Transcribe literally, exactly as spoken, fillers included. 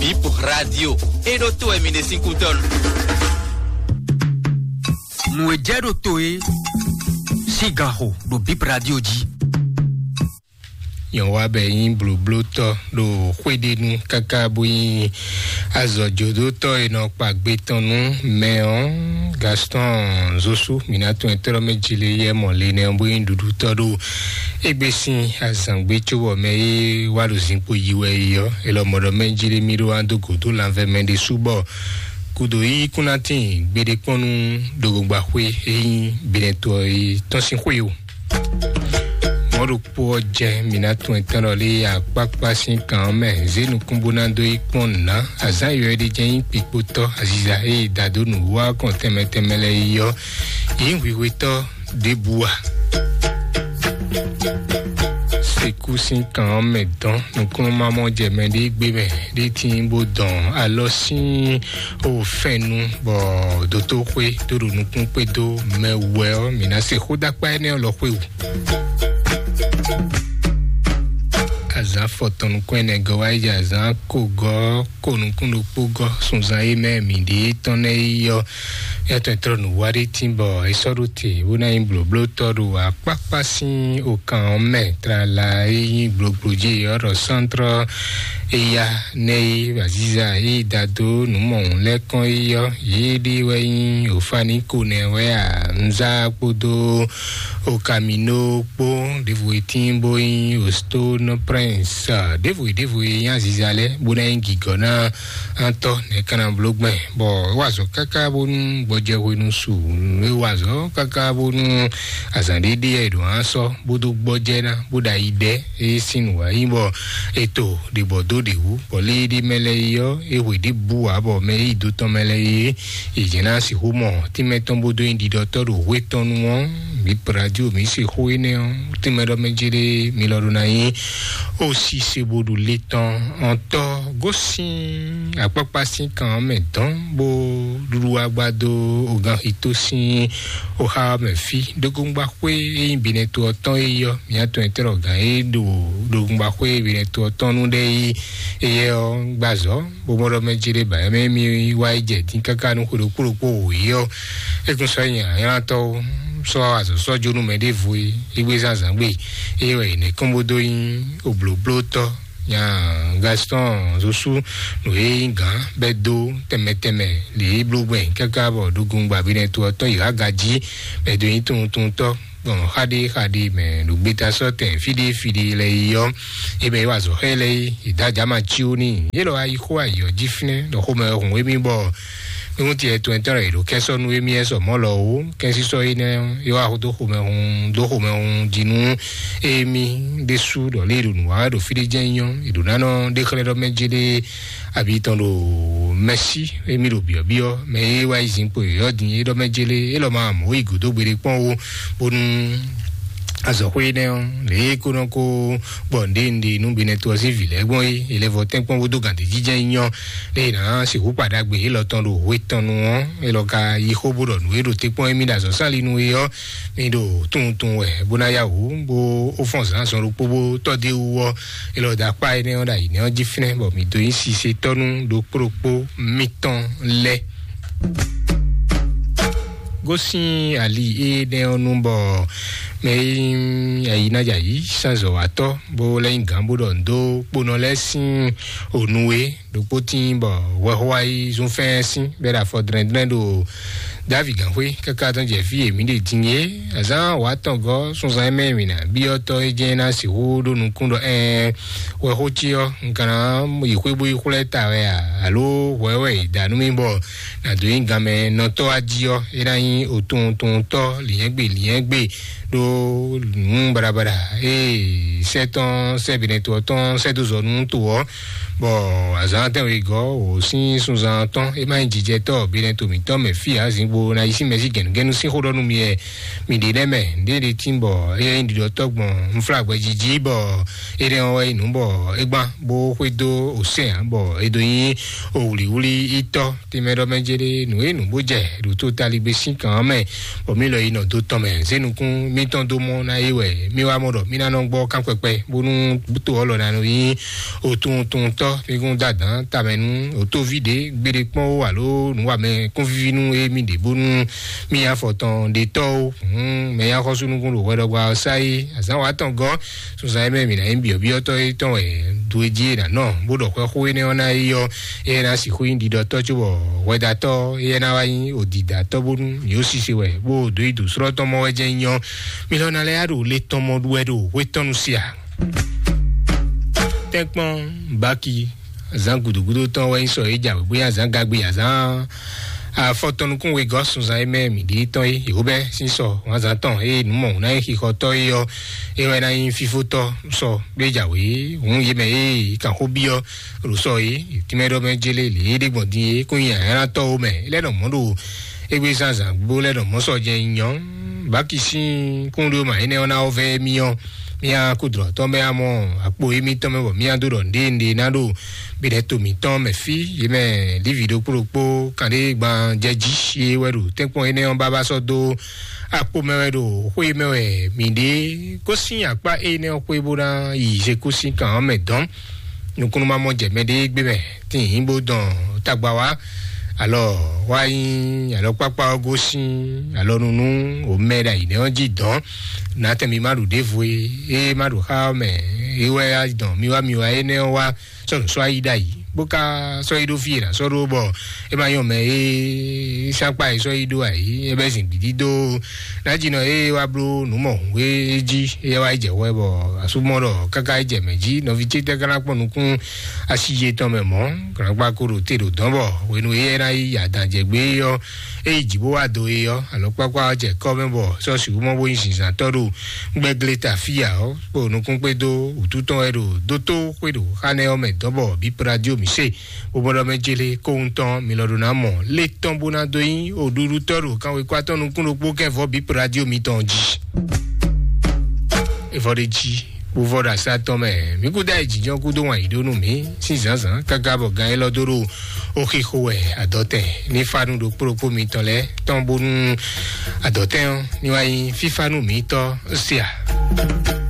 Bip Radio. E ɖo to wɛ mi ɖe sín kútɔ́ nu. Nǔ e jɛ ɖo to e sín gan xo ɖo Bip Radio jí. Nyɔ̌wa bɛ nyí blǒblótɔ́ ɖo xwéɖénu káká bó nyí azɔ̌jodótɔ́ e nɔ kpa gbe tɔn nú mɛ ɔ́, Gaston Zosu, mǐ ná tún ɛ tlɔ́ mɛ jí lé yɛ mɔ le nɛ ɔ́, bó nyí ɖuɖutɔ́ ɖo égbé sín azǎngbé cóbɔ mɛ e wá ɖo zinkpo yi wɛ é ɔ́, é lɔ mɔ ɖɔ mɛ jí lé mí ɖó wá dó gǒdó lanvɛ mɛ ɖésú bɔ gǔdo yí kún ná tíin gbeɖé kpɔ́n nú ɖogbogbaxwé e nyí Benɛto ɔ́ tɔn sín xwé o. Mɔ̌ ɖokpó ɔ́ jɛ mǐ ná tún ɛtɛ́n lɔ lé akpákpá sín kan ɔ́ mɛ, zě nukún bó ná dó yi kpɔ́n nǔ ná. Azǎn yɔ̌yɔ́ ɖé jɛ́n nyí kpikpotɔ́ aziza e yi da dó nǔ wá kɔn tɛnmɛ tɛnmɛ lɛ́ɛ yi ɔ́, yě nyí hwihwetɔ́ ɖěbǔ a? Sekú sín kan ɔ́ mɛ dɔn nukúnnú má mɔ jɛ mɛ ɖé gbé mɛ ɖé tíin bó dɔn alɔ sín o fɛ́nnu bɔ dótóxwé dó ɖo nukún kpé dó mɛ wɛ ɔ́, mǐ ná se xó dó akpá énɛ́ ɔ́ lɔ xwé wú. Azǎn fɔtɔn nukún ɛnɛ gɔ́ wá yi jɛ azǎn ko gɔ́ ko nukún ɖokpó gɔ́ sunzan e mɛ mǐ ɖe tɔn nɛ́ yi ɔ́, yɛtɔn e tlɔ́ nǔ wá ɖé tín bɔ é sɔ́ ɖó te bó ná nyí blǒblótɔ́ ɖo akpákpá sín okan ɔ́ mɛ tlala e nyí gblogblo jí ɔ́ ɖɔ sántrɔ eya nɛ́ yi aziza e da dó nǔ mɔ̌hun lɛ́ɛ kɔn yi ɔ́, yě ɖe wɛ nyí Ofaníko nɛ́ wɛ a? Nzá kpódó Okamino kpó ɖěvo e tíin bó nyí Ostone Prince, ɖěvo e ɖěvo e nyí aziza lɛ́ɛ bó ná nyí gǐgɔ́ ná atɔ́ nɛ̌ ka ná bló gbɛn, bɔ é wa azɔ̌ káká bónú gbɔjɛ hwenu su, é wa azɔ̌ káká bónú azǎn ɖé ɖe e ɖo á sɔ́ bó dó gbɔjɛ ná bó ɖo ayi ɖɛ é sín nǔ wá nyí bɔ è to ɖě bɔ dó ɖě wú, bɔ lé ɖé mɛ lɛ́ɛ yi ɔ́, é hwe ɖěbǔ ǎ bɔ mɛ e yi do tɔn mɛ lɛ́ɛ yi é, è jɛ́n ná sixú mɔ tínmɛ tɔn bó dó nyi ɖiɖɔtɔ́ ɖo hwé tɔn nu ɔ́, mǐ radio mǐ se xó énɛ́ ɔ́, tínmɛ ɖɔ mɛ jéré mi lɔ ɖó ná nyí ó sí se bó ɖu lé tɔn ɔ́ tɔ́ gosín akpákpá sín kan ɔ́ mɛ dɔn bó ɖuɖu wá gbá dó oganxito sín oxa ɔ́ mɛ fí. Ɖógóngbáxwé e nyí Benɛto ɔ́ tɔn é yí ɔ́, mǐ atɔn e tlɔ gǎn é ɖo ɖógóngbáxwé Benɛto ɔ́ tɔn nú ɖɛ́ yí éyɛ́ ɔ́ gbazɔ̌ bó mɔ ɖɔ mɛ jí ɖé ba mɛ mí wá yi jɛ dín káká nú xwe ɖokpó ɖokpó wǒ yi ɔ́, é kún sɔ́ nyi anylatɔ́ sɔ́ azɔ̌ sɔ́ jó nú mɛ ɖěvo é, é gbé zán zǎn gbe é wɛ è nɛ̌ kɔn bó dó nyí oblǒblótɔ́ nya Gaston Zosu nǔ e nyí gǎn bɛ́ dó tɛnmɛ tɛnmɛ lě é bló gbɛn káká bɔ ɖogun gbabinɛ to ɔ́ tɔn yi há gají bɛ́ dó nyí tunwuntunwuntɔ́ gbɔn xaɖé xaɖé mɛ ɖo gbeta sɔ́ tɛn fíɖé fíɖé lɛ yi ɔ́, é mɛ yi wa azɔ̌ xá ɛ lɛ́ɛ yi, yi dó ajǎ ma cí ó n'i. Yě lɔ wá yi xó ayǐ ɔ́ jí fínɛ́ ɖɔ xomɛ hun émí bɔ nukúnti ɛtɔn ɛtɔn lɔ yě ɖo kɛ́ sɔ́ nú émí ɛ sɔ mɔ̌ lɔ ó. Kɛ́nsísɔ́ énɛ́ ɔ́, é wá dó xomɛ hun dó xomɛ hun jí nú émí ɖésú ɖɔ lě e ɖo nǔ wa wɛ ɖo fí ɖé jɛ́n nyí ɔ́, è ɖǒ ná nɔ ɖe xlɛ́ ɖɔ mɛ jé ɖé abi tɔn ɖo mɛsí émí ɖo byɔ̌byɔ́ mɛ e wá yi zinkpo yɔ̌yɔ́ din é ɖɔ mɛ jélé é lɔ ma mɔ̌ yi gǔdo gbeɖé kpɔ́n ó, bónú azɔ̌xwé énɛ́ ɔ́ lě e kó nɔ kó gbɔ nǔɖé nǔɖé nú binɛ to ɔ́ sín vǐ lɛ́ɛ gbɔn é, è lɛ́ vɔ tɛ́nkpɔ́n bó dó gǎn ɖějíjɛ́n nyí ɔ́, lě e è nǎ sixú kpa ɖagbe élɔ́ tɔn ɖo hwe tɔn nu ɔ́, é lɔ ka yi xó bó ɖɔ nǔ e ɖo te kpɔ́n émí ɖo azɔ̌ sálinu é ɔ́, mi ɖo tunwun tunwun wɛ bó ná yá wǔ bó ó fɔ́n zǎnzɔn ɖokpó bó tɔ́ dó é wú ɔ́, é lɔ dó akpá énɛ́ ɔ́ ɖo ayǐ nɛ́ ɔ́ jí fínɛ́ bɔ mǐ dó nyí sise tɔ́ nú ɖokpó ɖokpó mítɔn lɛ́ɛ. Gosín ali énɛ́ ɔ́ nu bɔ mɛ e nyí ayǐnájǎyí sánzɔ̌watɔ́ bó lɛ́ nyí gǎn bó ɖɔ nǔ dó kponɔ lɛ́ɛ sín ònu e ɖokpó tíin bɔ hwɛxó wá yi zún fɛ́ɛ́n sín bɔ é ɖo afɔ dlɛ́ndlɛ́n ɖo Davi gǎnxwé káká tɔn jɛ fí e mǐ ɖe din é. Azǎn wǎ tɔn gɔ́ sunzan e mɛ mǐ ná byɔ́ tɔ́ é jɛ́n ná sixú ɖó nukún ɖɔ ɛɛn hwɛxó cí ɔ́, un ka ná yi xwé bó yi xwlɛ́ ta wɛ a? Alo hwɛ wɛ è da nú mì bɔ nǎ dó nyí ganmɛ nɔtɔ́ wá jí ɔ́, é ná nyí otowuntowontɔ́ lǐnyɛ́gbe lǐnyɛ́gbe ɖó nǔ baɖabaɖa e sɛ́ tɔn sɛ́ binɛtɔ́ tɔn sɛ́ dó zɔ nú to ɔ́, bɔ azǎn tɛ́nwe gɔ́ wǒ sín sunzan tɔn é má nyí jijɛtɔ́ binɛtɔ́ mǐtɔn mɛ fí ǎ, zǐngbo ná yi sín mɛ sí gɛ̌nugɛ́nu sín xó ɖɔ nú mi wɛ mi ɖe nɛ́ mɛ. Ndé ɖe tín bɔ é nyí ɖiɖɔtɔ́ gbɔn unflágbɛ́ jí jí bɔ énɛ́ ɔ́ wɛ nyí nǔ bɔ é gbán bó xwedó osɛ́n ǎ, bɔ é dó nyí owlǐwlí ítɔ́ tɛnmɛ ɖɔ mɛ jɛ ɖe nǔ e nǔ bó jɛ ɖo to taligbe sín kan ɔ́ mɛ, bɔ mí lɔ yi nɔ do tɔn mɛ zé nukún mítɔn dó mɔ ná é wɛ mí wá mɔ ɖɔ mí ná nɔ gbɔ kán kpɛkpɛ bónú to ɔ́ lɔ ná nɔ nyí otúntúntɔ́ Ɔ, mi kún da dǎn tamɛ nú òtóví ɖě gbeɖé kpɔ́n ó alo nǔwamɛ kúnvíví nú émí ɖě bónú mì nyí afɔtɔn ɖe tɔ́ ó. Hǔn mɛ nyí axɔ́súnukún ɖo hwɛɖɔgba ɔ́ sá é azǎn wa tɔn gɔ́. Sunzan e mɛ mǐ ná nyí byɔ̌byɔ́tɔ́ é tɔn wɛ do e jí é ná nɔ bó ɖɔ xwɛ xó énɛ́ ɔ́ ná é ɔ́, éyɛ́ ná sixú nyí ɖiɖɔtɔ́ cóbɔ hwɛdatɔ́ éyɛ́ ná wá nyí òdìdátɔ́ bónú mǐ ó sise wɛ bó dó yi dǒ slɔ́ tɔn mɔ wɛ jɛ́n nyí ɔ́. Mi lɔ ná lɛ́ yá ɖo le tɔn mɔ ɖu wɛ ɖo hwé tɔn nu sia. Tɛ́nkpɔ́n baki zan gudugudu tɔn wɛ nyí sɔ é jǎwe bóyá zan gagbe azán afɔtɔnukún wegɔ́ sunzan é mɛ mǐ ɖi tɔn é yǒbɛ sín sɔ wǎnzán tɔn é nǔ mɔ ná é xixɔtɔ́ é ɔ́ é wɛ ná nyí fífótɔ́ sɔ gbé jǎwe hǔn yě mɛ é kan xó byɔ́ ɖo sɔ é tínmɛ ɖɔ mɛ jélé lě é ɖé gbɔn dín é kún nyi ayánátɔ́ ó mɛ é lɛ́ nɔ mɔ̌ ɖo égbé zánzán gbó lɛ́ nɔ mɔ̌ sɔ jɛ nyɔ baki sín kúnɖó ma énɛ́ ɔ́ ná ɔ́ vɛ́ mì ɔ́ mía kúdrɔ̌tɔ́ mɛ amɔ akpo émítɔn mɛ bɔ mía dó ɖɔ nɖénɖé ná ɖo biɖɛto mǐtɔn mɛ fí yě mɛ lívi ɖokpó ɖokpó kanɖé gban jɛ jí é wɛ ɖo tɛ́nkpɔ́n énɛ́ ɔ́ bábá sɔ́ dó akpo mɛ wɛ ɖo xwé mɛ wɛ mǐ ɖe gosín akpá énɛ́ ɔ́ xwé bó ná yi zekúsín kan ɔ́ mɛ dɔn nukúnnú ma mɔ jɛ mɛ ɖé gbé mɛ tín bó dɔn tagba wá alɔ wá nyí alɔkpákpá ɔ́ gosín alɔnunú omɛ ɖo ayǐ nɛ́ ɔ́ jí dɔn natɛn mi ma ɖu ɖěvo e é ma ɖu xá ɔ́ mɛ é wɛ dɔn mi wá mi wá énɛ́ ɔ́ wá sɔ́ nǔ sɔ́ ayí ɖ'ayǐ bó ká sɔ́ yi ɖó fí e nǎ sɔ́ ɖó bɔ é ma nyɔ mɛ e sákpá e sɔ́ yi ɖó ayǐ é bɛ́ zin gbǐdí dó nájínɔ e wá bló nǔ mɔ hǔn e jí é wá yi jɛ hwɛ bɔ asúmɔ ɖɔ káká yi jɛ mɛ jí nɔví ce tɛ́ ká ná kpɔ́n nukún asi yetɔn mɛ mɔ̌. Gǎnkpa ko ɖo te ɖo dɔ̌n bɔ hwenu e é ná yi adǎn jɛ gbé ɔ́ é yi jǐ bó wá do é ɔ́ alɔkpákpá ɔ́ jɛ kɔ́ mɛ bɔ sɔ́ sixú mɔ bó nyí zinzǎntɔ́ ɖo gbɛ́glé ta fí ǎ ɔ́ kpo nukún kpédó wǔtu tɔn wɛ ɖo dótó xwé ɖo xá nɛ́ ɔ́ mɛ dɔ̌n bɔ bǐ pradio mǐ se bó bɔ́ ɖɔ mɛ jélé kóhun tɔn mi lɔ ɖo ná mɔ lé tɔn bó ná dó nyí òɖuɖutɔ́ ɖo kanwekwa tɔn nukún ɖokpó kɛ́ vɔ́ bǐ pradio mitɔn jí. Evɔ ɖe jí bó vɔ ɖo asá tɔn mɛ mí kúdó ayé jínjɔ́n kúdó wǎn yí ɖó nú mǐ sín zǎnzǎn káká bɔ gán élɔ́ dó ɖo ó xixo wɛ adɔtɛn ní fánú ɖokpó ɖokpó mitɔn lɛ́ɛ tɔn bónú adɔtɛn ɔ́ ní wá nyí fífánú mǐtɔn sia.